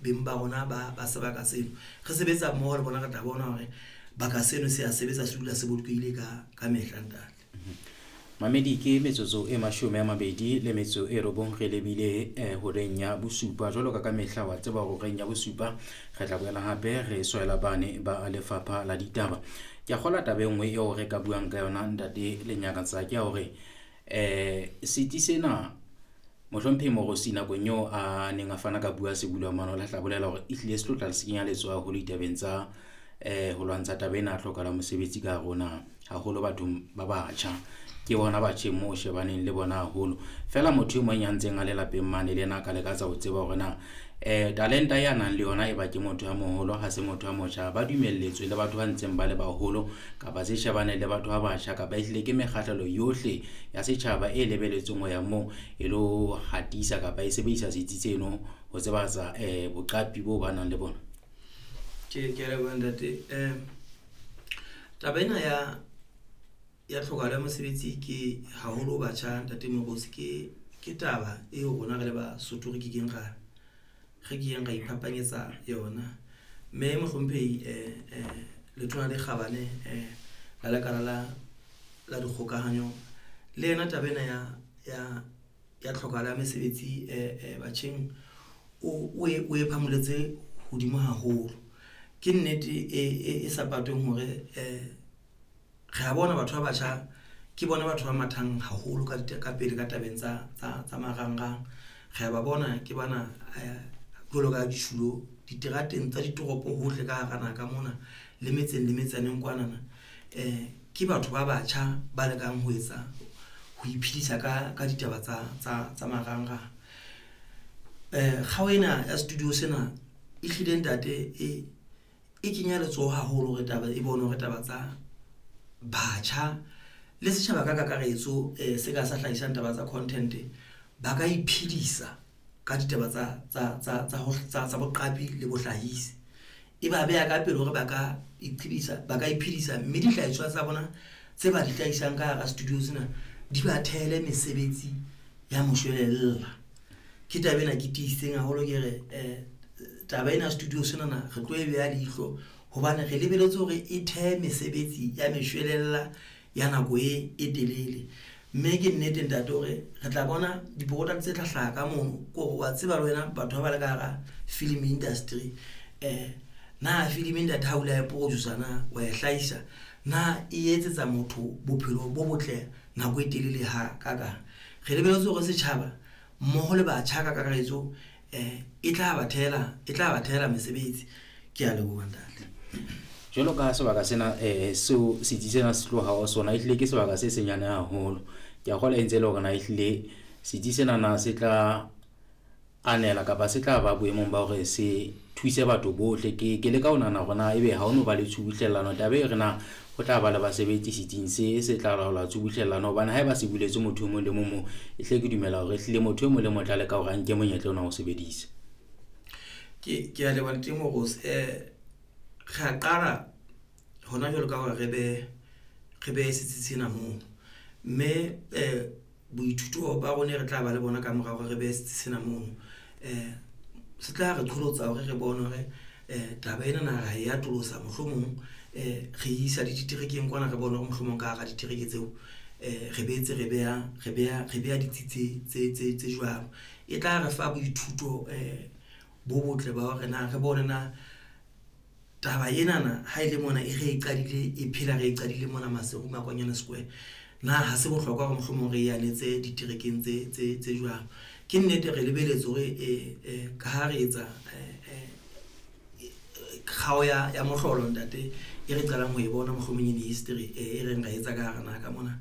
beng ba rona ba sebaka seno. Re sebetsa mmoho le bona, re tla bona hore baka seno se a sebetsa, se dula se bolokehile ka mehla, ntate. Mamedi, ke metsotso e 29 re lebile horeng ya bosupa. Jwalo ka mehla wa tseba hore horeng ya bosupa re tla boela hape re swela bane ba lefapha la ditaba. Ke a kgolwa taba e nngwe eo re ka buang ka yona, ntate Lenyakatsa, ke ya hore setsi sena mohlomphehi Moorosi nakong eo a neng a fana ka bua sebulwa mane, o la tla bolela hore ehlile se tlo tla se kenya letsoho haholo ditabeng tsa ho lwantsha taba ena ya tlhokahalo ya mosebetsi ka hare ho naha, haholo bathong ba batjha. Ke bona batjheng moo o shebaneng le bona haholo. Feela motho e mong ya ntseng a le lapeng mane le yena a ka lekatsa ho tseba hore na talenta ya nang le yona e ba ke motho ya moholo, ha se motho ya motjha, ba dumelletswe le batho ba ntseng ba le baholo kapa se shebane le batho ba batjha, kapa ehlile ke mekgahlelo yohle ya setjhaba e lebelletsweng ho ya moo e lo hatisa kapa e sebedisa setsi seno ho tsebahatsa boqapi bo ba nang le bona. Ke a leboha, ntate. Taba ena ya tlhokahalo ya mosebetsi ke haholo batjha, ntate Moorosi, ke taba eo rona re le Basotho re kekeng ra iphapanyetsa yona. Mme mohlomphehi letona le kgabane la lekala la dikgokahanyo le yena taba ena ya tlhokahalo ya mesebetsi batjheng o e phamoletse hodimo haholo. Ke nnete e sa patweng hore re a bona batho ba batjha ke bona batho ba mathang haholo ka pele ka tabeng tsa marangrang. Re a ba bona ke bana jwalo ka ditjhulo diterateng tsa ditoropo hohle ka hara naha ka mona le metseng le metsaneng kwanana. Ke batho ba batjha ba lekang ho etsa ho iphedisa ka ditaba tsa marangrang. Kgao ena ya studio sena e hlile, ntate, e kenya letsoho haholo hore taba e bone hore taba tsa batjha le setjhaba ka kakaretso se ka sa hlahisang taba tsa content ba ka iphedisa ka ditaba tsa boqapi le bohlahisi. E ba beha ka pele hore ba ka iphedisa, ba ka iphedisa, mme dihlahiswa tsa bona tse ba di hlahisang ka hara studio sena di ba thehele mesebetsi ya moshwelella. Ke taba ena ke tiisitseng haholo, ke re taba ena studio senana re tlo e beha leihlo hobane re lebeletse hore e thehe mesebetsi ya meshwelella ya nako e telele. Mme ke nnete, ntate, hore re tla bona di-product tse tla hlaha ka mono ke hore wa tseba le wena batho ba ba le ka hara film industry. Na film, ntate, ha o ile wa e producer, na wa e hlahisa, na e etsetsa motho bophelo bo botle nako e telele ha kakang? Re lebeletse hore setjhaba mmoho le batjha ka kakaretso e tla ba thehela mesebetsi. Ke a leboha, ntate. Jwalo ka sebaka sena seo setsi sena se tloha ho sona, ehlile ke sebaka se senyane haholo. Ke a kgolwa e ntse e le hore na ehlile setsi sena na se tla anela kapa se tla ba boemong ba hore se thuse batho bohle. Ke leka ho nahana hore na ebe ha ho no ba le tshubuhlellano taba e re na ho tla ba le basebetsi setsing se tla laola tshubuhlellano, hobane haeba se buletswe motho e mong le mong moo, ehlile ke dumela hore ehlile motho e mong le mong o tla leka hore a nke monyetla ona ho sebedisa. Ke a leboha, ntate Moorosi. Re a qala hona jwalo ka hore re behe setsi sena moo, mme boithuto ba rona re tla ba le bona ka mora hore re behe setsi sena mono se tla re qholotsa hore re bone hore taba ena na ra e atolosa, mohlomong re isa le diterekeng kwana, re bone hore mohlomong ka hara ditereke tseo re boetse re beha ditsi tse jwalo. E tla re fa boithuto bo botle ba hore na re bone na taba enana ha e le mona e re e qadile e phela, re e qadile mona Maseru, Makwanyane Square, na ha se bohlokwa hore mohlomong re e anetse diterekeng tse jwang. Ke nnete re lebeletse hore ka ha re etsa kgao ya mohlolo, ntate, e re qalang ho e bona mohlomong in history e reng ra etsa ka hara naha ka mona,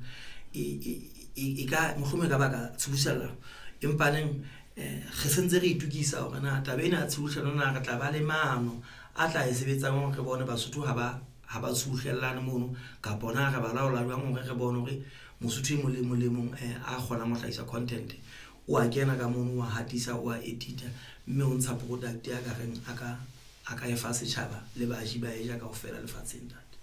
e ka mohlomong e ka baka tshubuhlellano, empa neng re sentse re itukisa hore na taba ena ya tshubuhlellano na re tla ba le maano a tla e sebetsang hore re bone Basotho ha ba tshubuhlellane mono, kapa na re ba laola jwang hore re bone hore Mosotho e mong le mong le mong a kgonang ho hlahisa content o a kena ka mono, wa hatisa, wa edita, mme o ntsha product ya ka reng a ka e fa setjhaba le baji ba e ja kaofela lefatsheng, ntate.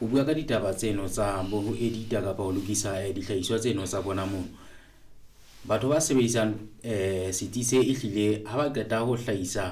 O bua ka ditaba tseno tsa bo ho edita kapa ho lokisa dihlahiswa tseno tsa bona mono. Batho ba sebedisang setsi se ehlile ha ba qeta ho hlahisa.